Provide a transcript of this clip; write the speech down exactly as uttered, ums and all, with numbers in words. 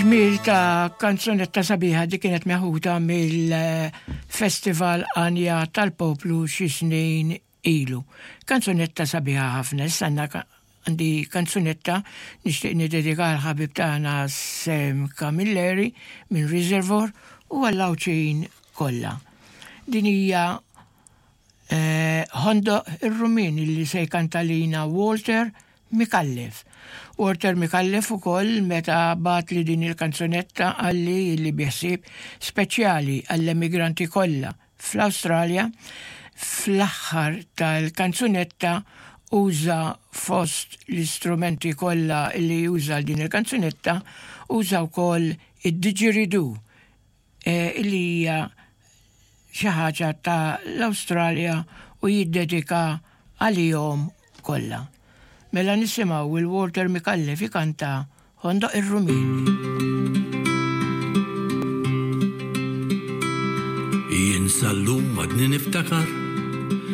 Ġmiel ta' kanzunetta sabiħa di kienet meħuda mill-Festival Anja tal-Poplu xi snin ilu. Kanzunetta sabiħa ħafna, issa għandi kanzunetta nixtieq niddedika l-ħabib tagħna Sam Camilleri minn Reservoir u għall-Għawdxin kollha. Din hija eh, Ħondoq ir-Rummien li se jkanta lina Walter Micallef. Walter Micallef ukoll meta bagħatli din il-kanzunetta qalli li bi ħsieb speċjali għall-emigranti kollha fl-Awstralja fl-aħħar tal-kanzunetta uża fost l-istrumenti kollha li juża din il-kanzunetta uża wkoll id-didgeridoo eh, li hija xi ħaġa ta' l-Awstralja u jiddedika għalihom kollha. Mela nisimgħu il-Walter Micallef ikanta Ħondoq ir-Rummien. Jien sal-lum għadni niftakar